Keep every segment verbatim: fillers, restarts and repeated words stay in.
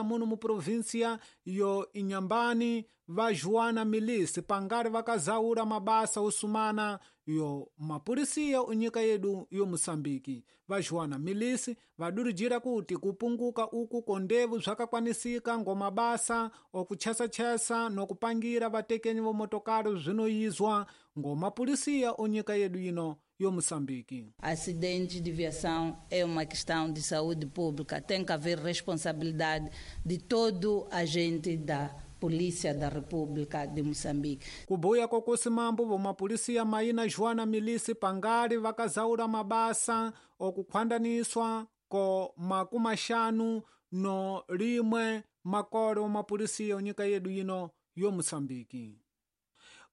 muno mu província yo Inhambane va Joana Milisi pangari vakazaura mabasa osumana yo mapurisia unyika yedu yo Moçambique. Va Joana Milisi vadurijira kuti kupunguka uku kondevu zvakakwanisika ngo mabasa okuchesa-chesa nokupangira vatekenyi vomotokari zvinoizwa ngo mapurisia unyika yedu ino yo Moçambique. Acidentes de viação é uma questão de saúde pública. Tem que haver responsabilidade de todo agente da Polícia da República de Moçambique. Kubuya kokusimambo vomapolisia maina Joana Milisi pangari vakazaura mabasa okukhwandaniswa ko makumaxanu no rimwe makore omapolisia onyika yedu ino yo Moçambique.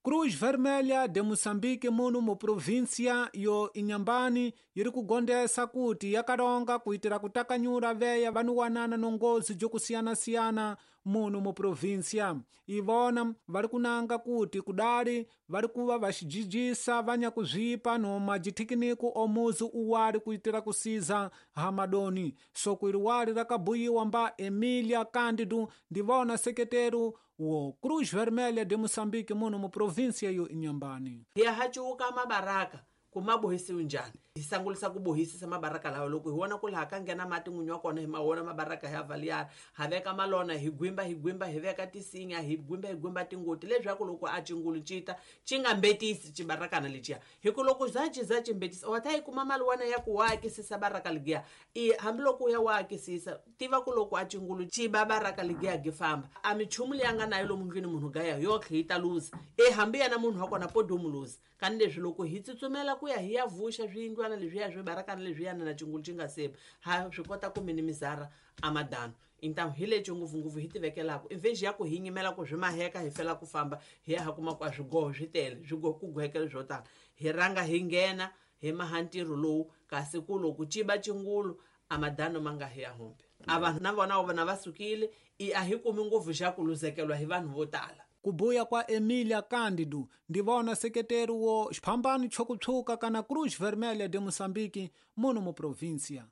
Cruz Vermelha de Moçambique muno mu província yo Inhambane yiri kugondesa kuti yakaronga kuitira kutakanyura veya vanuwanana nongozi jokusiyana-siyana muno mu província. Ivona vari kunanga kuti kudari vari kuva vaxijijisa vanyakuzvipa no majithikiniku omuzi uwari kuitira kusiza hamadoni. Soko iri wari rakabuyiwa mba Emília Cândido ndivona seketeru wo Cruz Vermelha de Moçambique muno mu província yo Inhambane. Ya hachuka mabaraka kumabohisi unjani hisangulisa kubohisisa mabaraka lawa loko hi wona ku laha ka nghena mati n'winyi wa kona hi ma wona mabaraka hi avaliara ha veka malona hi gwimba hi gwimba hi veka tisinya hi gwimba hi gwimba tingoti leswaku loko a cingulu cita ci nga mbetisi cibarakana leciya hi ku loko za ci za ci mbetisa wa ta yi kuma mali wana ya ku wa akisisa baraka ligiya i hambiloko u ya wa akisisa tiva ku loko a cingulu ci ba baraka ligiya gi famba a michumu leyi a nga nayo lomu ndlwini munhu gaya yotlhe yi ta luza e hambi yena munhu wa kona podomu luza kani leswi loko hi tsutsumela ku ya hi ya vuxa swiyindlwana leswiya swi barakana leswiyana na cingulu ci nga seba ha swi kota ku minimizara amadano intamu hi lexi ngopfungopfu hi tivekelaka imveji ya ku hi nyimela ku swi maheka hi fela ku famba hi ya ha kuma ku a swigoho swi tele swigoho ku gohekele swo tala hi rhanga hi nghena hi maha ntirho lowu kasi ku loko ciba cingulu amadano ma nga hi ya humbi a vanhu na vona vona va sukile i a hi kumi ngopfu xa ku luzekelwa hi vanhu vo tala. Kubuya kwa Emília Cândido ndivona seketeru wo xiphambano chokutshuka kana Cruz Vermelha de Moçambique muno mu província.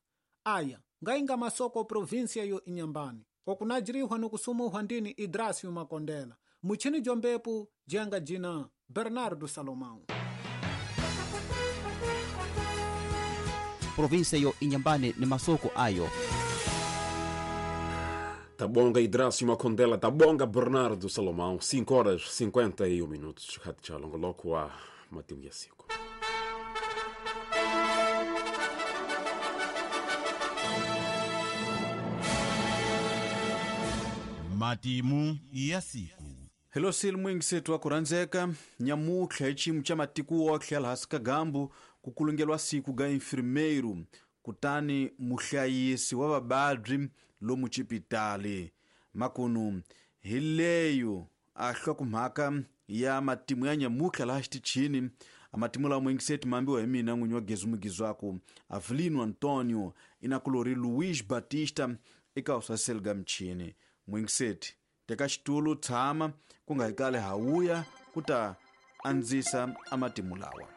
Aya ngainga masoko província yo Inhambane okunajirihwa nokusumuhwa ndini Idrasio Makondela muchini jombepu jenga jina Bernardo Salomão. Província yo Inhambane ni masoko ayo. Tabonga Idrasio Makondela, tabonga Bernardo Salomão, cinco horas e cinquenta e um minutos. Hatchalongoloko a Matiu Yasico. Matimu ya siku. Hello sil mwingisetu wa kuranzeka nyamutlha hi ximu xa matiko wotlhe laha sikagambu ku kulungelwa siku ga infirmeiro kutani muhlayisi wa vababyi lomu xipitali makunu hi leyo a hlokomhaka ya matimu ya nyamutlha laha xitichini a matimu lawa mwingiseti mambiwa hi mina n'winyi wa Gezu Mugizwaku Avelino Antonio inakulori Luiz Batista eka usaseli mchini mwingiseti teka xitulu tshama ku nga hi kale hawuya ku ta andzisa amatimu lawa.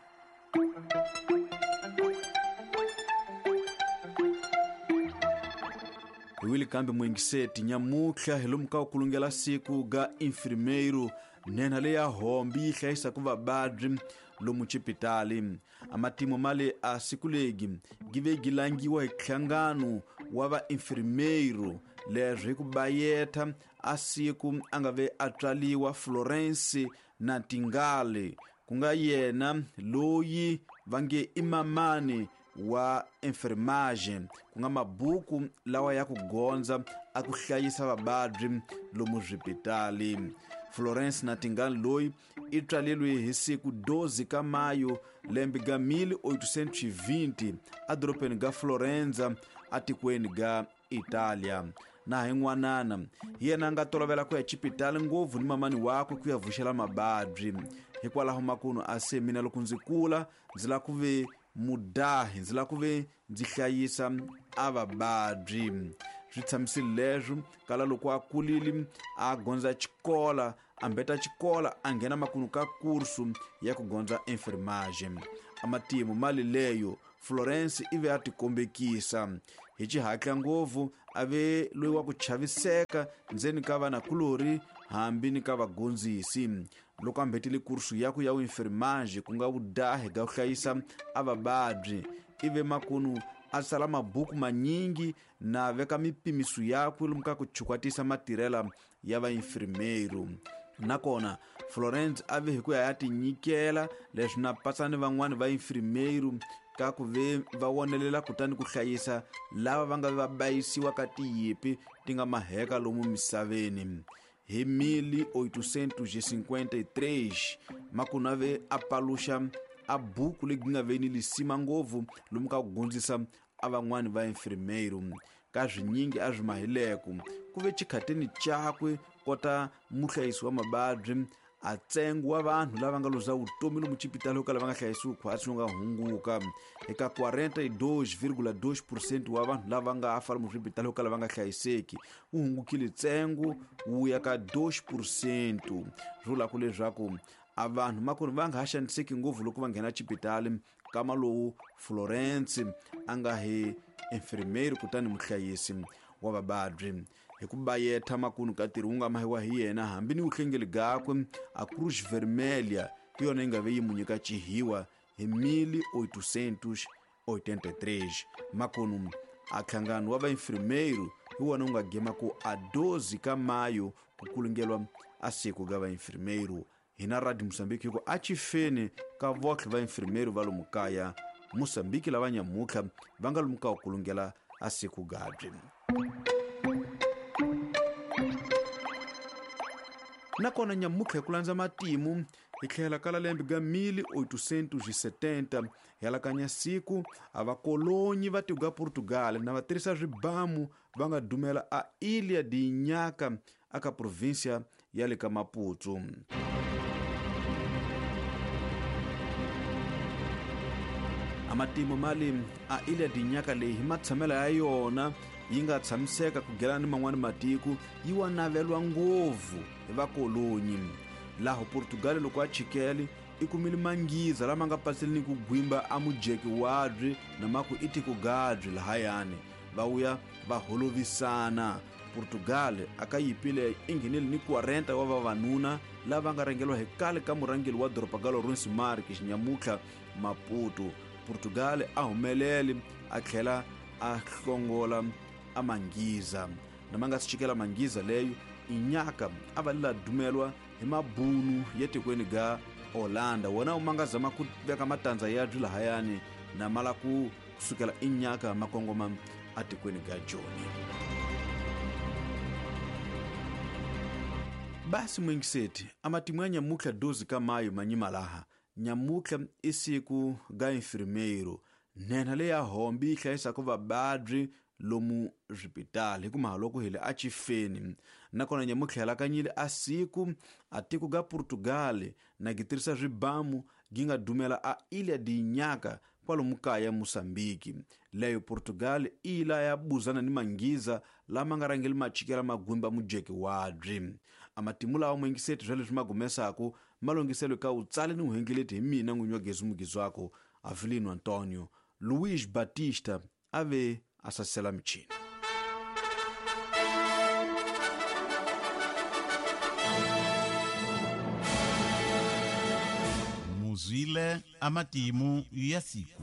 Hi wile kambe mwingiseti nyamutlha hi lomu ka ku kulungela siku ga infirmeiro nhenha leya hombi yi hlayisaka vababyi lomu xipitali a matimu male a siku legi gi ve gi langiwa hi nhlangano wa vainfirmeiro leswi hi ku bayetha a siku a nga ve a tswaliwa Florence Nightingale ku nga yena loyi va nge i mamani wa enfermagem ku nga mabuku lawa ya ku gondza a ku hlayisa vababyi lomu swipitali. Florence Nightingale loyi i tswaleriwe hi siku doze ka mayo lembe ga mil oitocentos e vinte edorobeni ga Florenza atikweni ga Italia. Na hi n'wanana hi yena a nga tolovela ku ya xipitali ngopfu ni mamani wakwe ku ya vuxela mababyi hikwalaho makunu a se mina loko ndzi kula ndzi lava ku ve mudahi ndzi lava ku ve ndzi hlayisa a vababyi. Swi tshamisile leswo kala loko a kulile a gondza xikola a mbeta xikola a nghena makunu ka kursu ya ku gondza enfermagem. Amatimu mali leyo Florence ive a tikombekisa hi xihatla ngopfu a ve loyi wa ku chaviseka ndzeni ka vanakulori hambi ni ka vagondzisi. Loko a mbhetile kursu yakwe ya uinfermagem ku nga vudahi ga ku hlayisa a vababyi, ive makunu a tsala mabuku manyingi na veka mipimiso yakwe lomu ka ku chukwatisa matirhela ya vainfirmeiro. Nakona Florence a ve hi ku ya ya tinyikela leswi na patsani van'wani va infirmeiro ka ku ve va wonelela kutani ku hlayisa lava va nga va bayisiwa ka tiyipi ti nga maheka lomu misaveni. Hi mil oitocentos e cinquenta e três makunu a ve a paluxa a buku leyi nga veni lisima ngopfu lomu ka ku gondzisa a van'wani va infirmeiro. Ka swinyingi a swi mahileko ku ve xikhatini chakwe kota muhlayisi wa mababyi a ntsengo wa vanhu lava nga luza vutomi lomu xipitali ka lava nga hlayisiwi khwatsi nga hunguka eka quarenta e dois vírgula dois por cento wa vanhu lava nga fa lomu swipitali ka lava nga hlayiseki wu hungukile ntsengo wu ya ka dois por cento. Swi vula ku leswaku a vanhu makoni va nga ha xaniseki ngopfu loko va nghena xipitali kama lowu Florence a nga hi enfermeiro kutani muhlayisi wa vababyi. Hi ku bayetha makunu ka ntirho wu nga mahiwa hi yena hambi ni vuhlengeli gakwe a Cruz Vermelha hi yona yi nga ve yi mu nyika chihiwa hi mil oitocentos e oitenta e três. Makunu a nhlangano wa vainfirmeiro hi wona wu nga gema ku a doze ka mayo ku kulungelwa a siku ga vainfirmeiro. Hina Radio Moçambique hi ku a chifeni ka votlhe vainfirmeiro va lomu kaya Moçambique lava nyamutlha va nga lomu ka ku kulungela a siku gabyi. Nakona nyamutlha hi ku landza matimu hi tlhela ka lembe ga mil oitocentos e setenta hi alakanya siku a vakolonyi va tiko ga Portugal na va tirhisa swibamu va nga dumela a Ilha de Inhaca aka província ya le ka Maputo. Amatimu mali a Ilha de Inhaca leyi hi matshamela ya yona yi nga tshamiseka ku gelana ni man'wani matiko yi wa navelwa ngopfu hi vakolonyi. Laho Portugal loko a chikele i kumile mangiza lama nga paseli ni ku gwimba a mujeki wabyi na maku i tiko gabyi lahayani va wuya va holovisana. Portugal aka yipile i nghenele ni quarenta wa vavanuna lava nga rhangeriwa hi kale ka murhangeri wa doroba ga Lourenço Marques nyamutlha Maputo. Portugal a humelele a tlhela a hlongola a mangiza na ma nga si chikela mangiza leyo Inhaca a va lela dumelwa hi mabunu ya tikweni ga Holanda wona wu ma nga zama ku veka matandza ya byi lahayani na mala ku kusukela Inhaca makongoma a tikweni ga Joni. Basi mwingiseti amatimu ya nyamutlha doze ka mayo manyima laha nyamutlha i siku ga infirmeiro nhenha leya hombi yi hlayisaka vababyi lomu swipitali hi ku mahaloko hi le a chifeni. Nakona nyamutlha hi alakanyile a siku a tiko ga Portugal na gi tirhisa swibamu gi nga dumela a Ilha de Inhaca kwalomu kaya Moçambique. Leyo Portugal i la ya buzana ni mangiza lama nga rhangeli machikela magwimba mujeki wabyi. Amatimu lawa mwingiseti swa leswi magumesaku malongiselo ka utsale ni uhengeleti hi mina n'winyi wa Gezi Mugizwako Avelino Antonio Luiz Batista a ve a sasela michini. Muzwile amatimu ya siku.